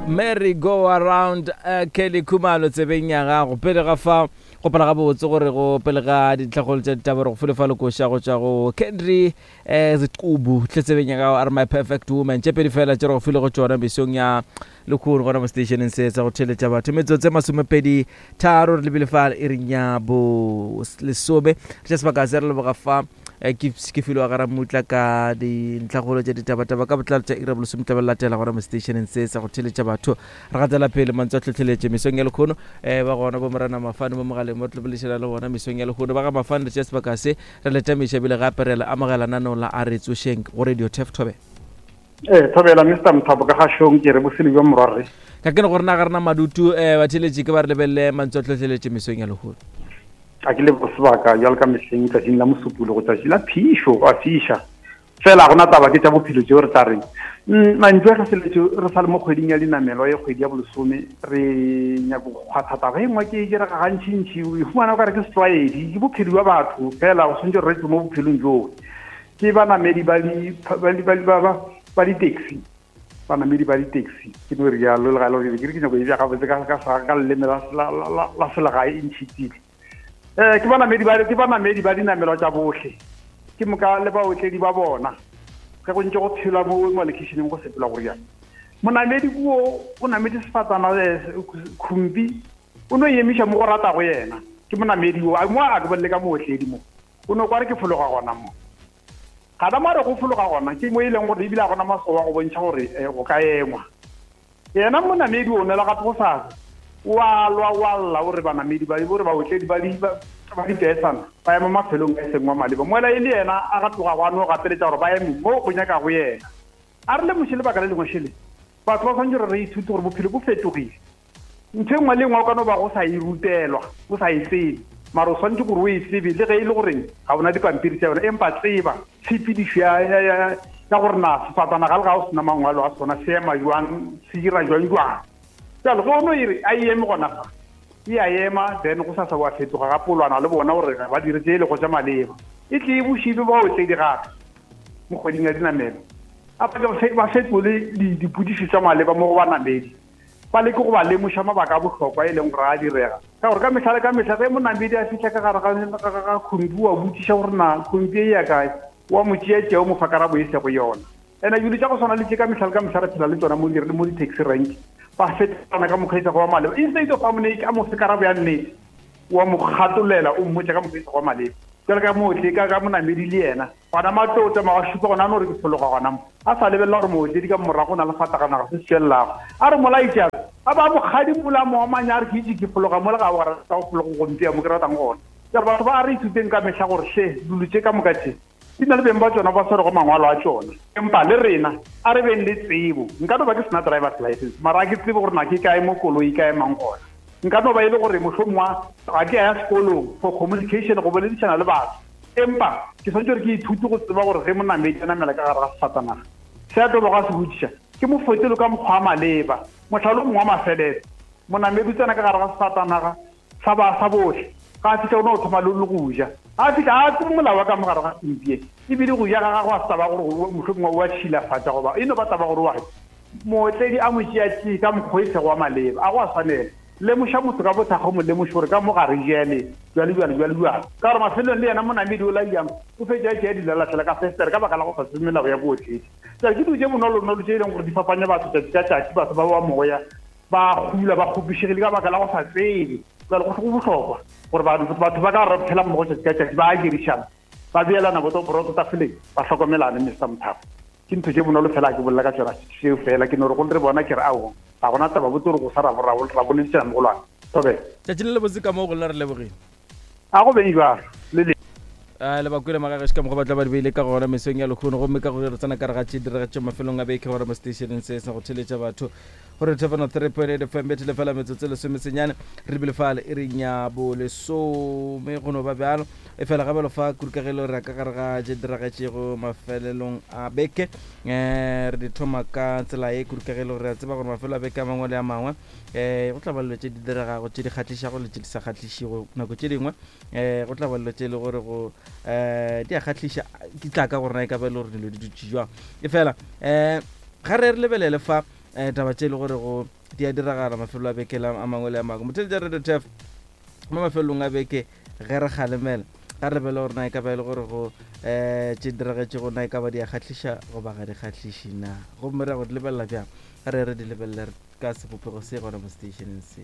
Merry go around uh, Kelly Khumalo tsebeng ya gago pele ga fa gopola gabotse gore go pele ga dintlhakgolo tša ditaba re go file fa lekoša go tšwa go Kendry eh, Ziqubu tle tsebeng ya gago a re my perfect woman tše pedi fela tše re go file go tšona mesong ya lekgono gona mo stationeng se sa go theletša batho metsotso e masomepedi tharo re lebile fa e reng ya bo lesome re tša sebaka se re leboga fa eh, ke ke filwe wa garamutla ka dintlhakgolo tša ditabataba ka botlalo tša ira bolesome tla latela gona mo stationeng se sa go theletša batho re gatela pele mantswe a tlhotlheletše mesong ya lekgono um ba gona bo morena mafane mo mogaleng mo re tlo boledišana le bona mesong ya lekgono ba ga mafane re tšea sebaka se re letamiša ebile gape re le amogela nanong la a re tsošeng go radio tef thobe Ee, thobela Mr Mothapo ka gašong ke re bosele bja morwarre. Ka ke ne gore na ga rena madutu um batheletši ke ba re lebelele mantswe a tlhohleletše mesong ya lehono. A ke lebo sebaka bjalo ka mehleng tšatšing la Mosupologo tšatši la phišo go a fiša. Fela ga gona taba ke tša bophelo tšeo re tla reng. Mm, mantšu a tlhohleletšo re sa le mo kgweding ya dinamelwa ye kgwedi ya bolesome re nyako go kgwatha taba e nngwe ke e direga gantšintši o e humana o ka re ke setlwaedi ke bophelo bja batho fela go swantse re tswe mo bophelong joo ke banamedi ba di ba di ba di ba ba di-taxi banamedi ba di-taxi ke no rialo le ga e le gore ke re ke nyako e bja gabotse ka ka sa ka leleme la la la la selegae e ntšhitile um ke banamedi ba ke banamedi ba dinamelwa tša bohle ke moka le baotledi ba bona ge go ntse go phelwa mo mo lekeišeneng go sepelwa go rialo monamedi kuo o nametse sefatana eh, khumpi o no emiša mo go ratago yena ke monamedi o mo a ke bolele ka mootledi mo O no kwa re ke fologa gona mo. Gana mo a re go fologa gona ke mo e leng gore ebile a gona maswao a go bontšha gore eh, go ka engwa. Yena monamedi o nwela gape go sasa. O a lwa o a lla o re banamedi ba o re baotledi ba di ba ba dipeesana ba ema mafelong a e seng wa maleba. Moela e le yena a ga tloga go a no gapeletša gore ba eme mo go nyakago yena. A re lemoše lebaka le lengwe šele. Batho ba swanetše gore re ithute gore bophelo bo fetogile. Ntho e nngwe le e nngwe o ka no ba go sa e rutelwa, o sa e tsebe, mara o swanetše gore o e tsebe le ge e le goreng ga ona dipampiri tša yona, empa tseba tshepedišo ya, ya, ya, ya gore na sefatanaga le ga o sena mangwalo a sona se ema jwang, se dira jwang jwang. Bjalo ge o no e re a e eme gona fa, e a ema, then go sasa wa fetoga gape o lwana le bona gore ga ba dire tše e lego tša maleba. E tle e buše e be baotledi gape mo kgweding ya dinamelo. A ba fetole dipotšišo tša maleba mo go banamedi. ba leke go ba lemoša mabaka a bohlokwa e leng gore a direga ka gore ka mehla le ka mehla ge monamedi a fihla ka gare ga khompi wa botšiša gore na khompi e ya kae wa mo tšea tšea o mo fa karabo e sego yona ene dilo tša go swana le tše ka mehla le ka mehla re phela le tsona mo mo di-taxi rank ba fetana ka mokgwa e sego wa maleba instead of a mo a mo fe karabo ya nnete wa mo gatolela o mmotša ka mokgwa e sego wa maleba jalo ka mootle ka monamedi le yena Gona matlotla ma wa šupa gona a no re ke fologa gona mo. A sa lebelela gore mootledi ka morago o na le fataganaga se se tšwelelago. A re molaetši a a ba mo kgadimola a mo omanya a re ke itše ke fologa mo le ga wa rata go fologa go mpea mo ke ratang gona. Jalo batho ba a re ithuteng ka mehla gore hle dilo tše ka moka tše di na le beng ba tšona ba swerego mangwalo a tšona. Empa le rena a re beng le tsebo. Nka no ba ke sena driver's license mara a ke tsebe gore na ke kae mo koloi e ka emang gona. Nka no ba e le gore mohlomongwa ga ke a ya sekolong for communication go boledišana le batho. Empa ke swanetše gore ke ithute go tseba gore ge monamedi a namela ka gare ga sefatanaga, se a tlo bago a se botšiša, ke mo fetole ka mokgwa wa maleba. Mohlala o mongwe wa mafelelo, monamedi o tsena ka gare ga sefatanaga sa ba sa bohle, ga a fihla o no thoma le le go ja. Ga a fihla ga a tsebe molao wa ka mo gare ga sempie, ebile go ja ga gagwe ga se taba ya gore mohlomongwe o a tšhilafatša goba e no ba taba gore o a ja. Mootledi a mo tšea tšee ka mokgwa o e sego wa maleba, a go a swanela. Lemoša motho ka bothakga o mo lemoše gore ka mo ga re jele, bjalo bjalo, bjalo bjalo. Ka gore mafelelong le yena monamedi o laiang o fetša a tšea dilalahlele ka festere ka baka la go sa tsebe melao ya bootledi. Bjale ke dilo tše bonolonolo tše e leng gore di fapanya batho tšatši ka tšatši, batho ba ba moya ba gula ba kgopišegile ka baka la go sa tsebe. Bjale go go bohlokwa gore batho ba ka re phela mmogo tšatši ka tšatši ba a dirišana, ba beelana boto boroto tafoleng, ba hlokomelane. Mister Mothapo. Ke ntho tše bonolo fela ke bolela ka tšona seo fela ke no re go re bona ke re aowa ga gona taba botse gore go sa ra ra boledišana mogolwane thobela. Tšatši le lebotse ka moo go lena re lebogile. A go beng jwalo le le. A le ba kwele magagešo ka mokgwa ba tla ba di beile ka gona mesong ya lekgono gomme ka go re tsena ka re ga tše diregetšo mafelong a beke gore mo seteišeneng se sa go theletša batho gore thefano 3.8 fm bethele fela metsotso e lesomesenyane re lebile fale e reng ya bolesome go no ba bjalo e fela gabelo fa kurukagelo re ya ka gare ga tše diragetšego mafelelong a beke um re di thoma ka tsela ye kurukagelo re a tseba gore mafelo a beke a mangwe le a mangwe um go tla ba dilo tše di diregago tše di kgahlišago le tše di sa kgahlišego nako tše dingwe um go tla ba dilo tše e le gore go um di a kgahliša ke tla ka gore na e ka ba e le gore dilo di dutše jwang e fela um ga re re lebelele fa. um taba tše e le gore go di a diragala mafelo a beke a mangwe le a mangwe. Motheletša Radio Turf mo mafelong a beke ge re kgalemela ga re lebele gore na e ka ba e le gore go um tše diragetšego na e ka ba di a kgahliša goba ga di kgahliše na, gomme re ya go di lebelela bjang? Ga re re di lebelele ka sebopego se gona mo seteišeneng se.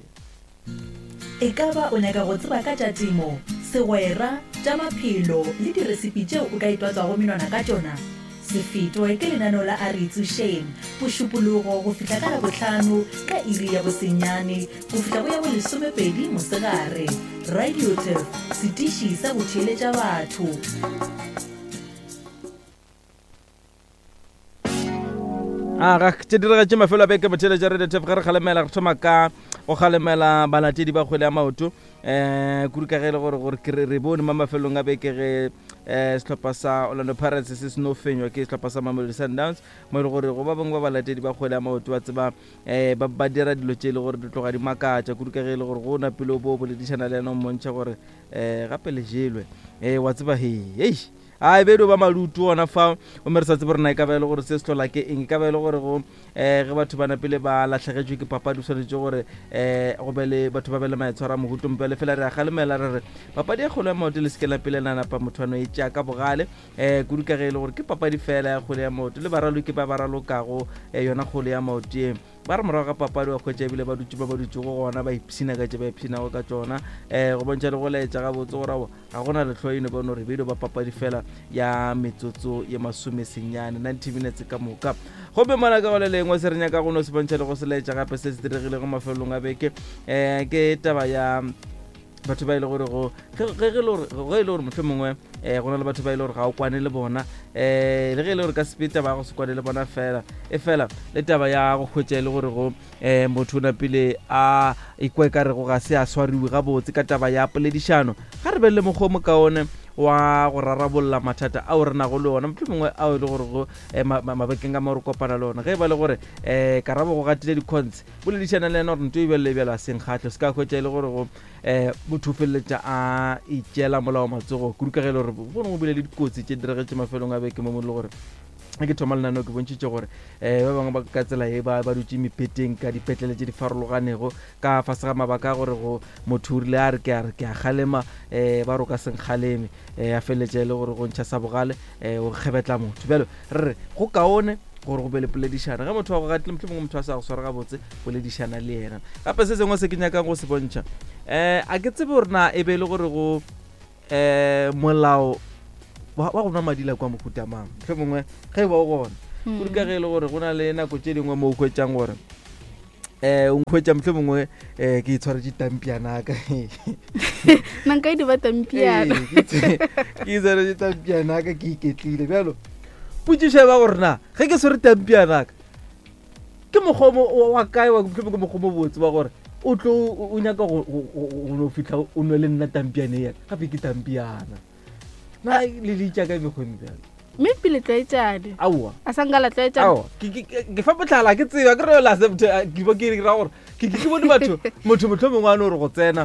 E ka ba o nyaka go tseba ka tša temo, segwera, tša maphelo le diresipi tšeo o ka itwatswago menwana ka tšona? Se fetwe ke lenaneo la A Re Itsošeng, Mošupologo go fihla ka Labohlano ka iri ya bosenyane go fihla go ya bolesomepedi mosegare. Radio Turf, setiši sa go theeletša batho. Aga, tše diragetše mafelo a beke motheeletša Radio Turf ge re kgalemela re thoma ka go kgalemela balatedi ba kgwele ya maoto um kudu ka ge e le gore gore ke re bone mo mafelong a beke ge um sehlopha sa Orlando Pirates se seno fenywa ke sehlopha sa Mamelodi Sundowns mo e le gore go ba bangwe ba balatedi ba kgwele ya maoto ba tseba um ba ba dira dilo tše e le gore di tloga di makatša kudu ka ge e le gore go napile o bo boledišana le yena o mmontšha gore um gape le jelwe um wa tseba hei hei A e be e dio ba malutu gona fa, gomme re sa tsebe gore na e ka ba e le gore se se hlola ke eng. E ka ba e le gore go um ge batho ba napile ba lahlegetšwe ke papadi, go swanetše gore um go be le batho ba be le maitshwaro a mohuta o mpe. Fela re a kgalemela re re papadi ya kgwele ya maoto le se ke la pele la napa motho a no e tšea ka bogale um kudu ka ge e le gore ke papadi fela ya kgwele ya maoto le baraloki ba ba ralokago um yona kgwele ya maoto ye ba re morago ga papadi wa hwetša ebile ba dutše ba ba dutšego gona ba ipshina ka tše ba ipshinago ka tšona um go bontšha le go laetša gabotse gore ao ga gona lehloyo eno ba no re beile ba papadi fela ya metsotso ye masomesenyane 90 minutes ka moka. Gomme mola ka go le lengwe se re nyaka go no se bontšha le go se laetša gape se se diregilego mafelelong a beke um ke taba ya batho ba e le gore go ge ge e le gore ge e le gore mohlomongwe um go na le batho ba e le gore ga o kwane le bona um le ge e le gore ka sepe taba ya go se kwane le bona fela e fela le taba ya go hwetša e le gore go um motho o napile a ikwa e ka rego ga se a swariwe gabotse ka taba ya poledišano. Ga re be le mokgwa o mokaone wa go rarabolla mathata ao re nago le ona, mohlomongwe ao e le gore go eh, mabakeng a mo re kopana le ona. Ge e ba le gore um karabo go gatile dikhontshe, boledišana le yena gore nto e bjalo le bjalo a seng kgahle. Se ka hwetša e le gore go um motho o feleletša a itšeela molao matsogo kudu ka ge e le gore bone go bile le dikotsi tše diragetše mafelong a beke mo mo e le gore ge ke thoma lenaneo ke bontšhitše gore um ba bangwe ba ka tsela ye ba ba dutše mepeteng ka dipetlele tše di farologanego ka fase ga mabaka a gore go motho o rile a re ke a re ke a kgalema um ba re o ka se nkgaleme um a feleletša e le gore go ntšha sa bogale um o kgebetla motho. Bjalo re re go kaone gore go be le poledišano ge motho wa go gatile mohlomongwe motho a sa go sware gabotse boledišana le yena. Gape se sengwe se ke nyakang go se bontšha um a ke tsebe gore na e be e le gore go um molao wa go nwa madila kwa mohuta mang mohlomongwe ge e ba o gona hmm. kudu ka ge e le gore go na le nako tše dingwe mo o hwetšang gore um o nkhwetša mohlomongwe um ke itshwaretše tampianaka nanka e di ba tampiana ke itshwaretše tampianaka ke iketlile bjalo potšišo e ba gore na ge ke swere tampianaka Ke mokgwa o wa kae wa mohlomongwe ke mokgwa o mobotse wa gore o tlo o nyaka go no fihla o nwe le nna tampiane ya gape ke tampiana na le le ka mekgwa e mebjalo mme pele tlwaetšane aowa a sa nka la tlwaetšana aowa ke fa mohlala ke tseba ke re la ke ke ra gore ke ke bone batho motho mohlomongwe a no re go tsena.